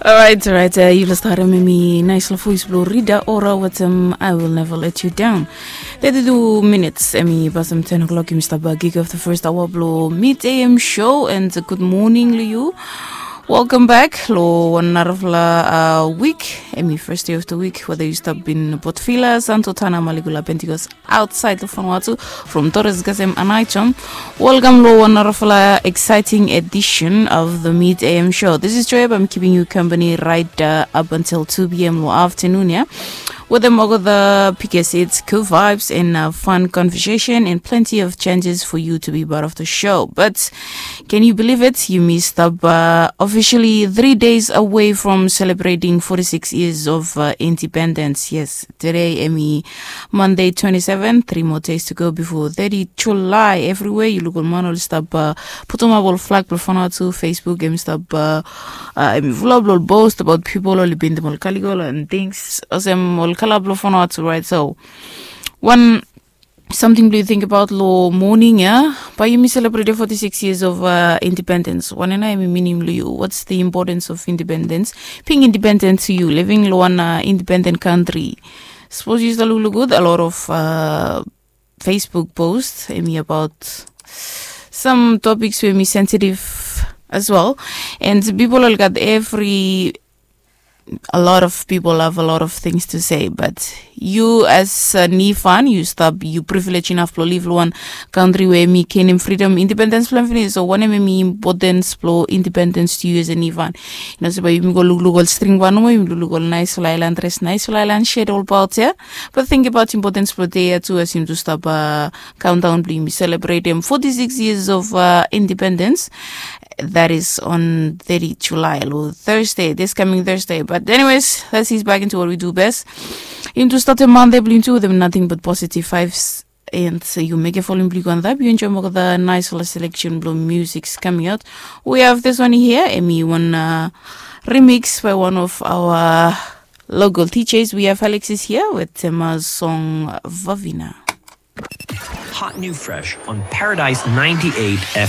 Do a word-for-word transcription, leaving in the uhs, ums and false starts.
Orait, orait, yufala stap harem hemi naisfala voes blong Rita Ora wetem I Will Never Let You Down. Thirty-two minutes hemi pasim ten o'clock, yumi stap kick off the first hour blong Mid A M show, and good morning long yu. Welcome back long wan narafala wik. Hemi first day of the week, whether yu stap in Port Vila, Santo Tana, Maligula, Pentecost, outside of Vanuatu, from Torres, Gasem, and Aichom. Welcome long wan narafala exciting edition of the Mid A M show. This is Joab. I'm keeping you company right uh, up until two p.m. long afternoon, yeah? Wetem olgeta biggest hits, cool vibes, and uh, fun conversation, and plenty of chances for you to be part of the show. But can you believe it? Yumi stap uh, officially three days away from celebrating forty-six years of uh, independence. Yes, today hemi Monday twenty-seven, three more days to go before thirty July. Everywhere yu luk ol man oli stap uh, putumap ol flag blong Vanuatu. Facebook hemi stap uh, uh, hemi fulap long ol post about pipol oli bindim ol kaliko and things, olsem ol kala blong Vanuatu, right? So wan samting blong yu tingbaot long moning ya, bae yumi selebretem forty-six years of uh, independence. Wanem nao hemi mining blong yu? What's the importance of independence? Being independent to you, living long wan uh, independent country. Sapos yu stap lukluk gud, a lot of uh, Facebook post hemi about some topics we hemi sensitive as well. And pipol oli gat evri a lot of people have a lot of things to say, but yu as a Nifan, yu stap, yu privilege inaf blong liv long wan country we hemi genim freedom, independence blong hem finis. So wanem hemi importance blong independence to you as a Nifan? Yu no se bae yumi go lukluk ol string wan nomo, yumi lukluk ol naisfala aelan dres, naisfala aelan shet olbaot ya. But tingbaot importance blong dei ya tu, as yumi tu stap uh, countdown blong yumi selebretem forty-six years of uh, independence. That is on thirty July, long Thursday, this coming Thursday. But anyways, let's ease back into what we do best. Yumi tu statem Monday blong yumi tu wetem nothing but positive vibes. And so yu mekem volume blong yu go antap, yu enjoem olgeta naisfala selection blong musics coming out. We have this one here, hemi wan uh, remix by one of our local D Js. We have Alexis here wetem uh, song Vavina. Hot new fresh on Paradise ninety-eight F M.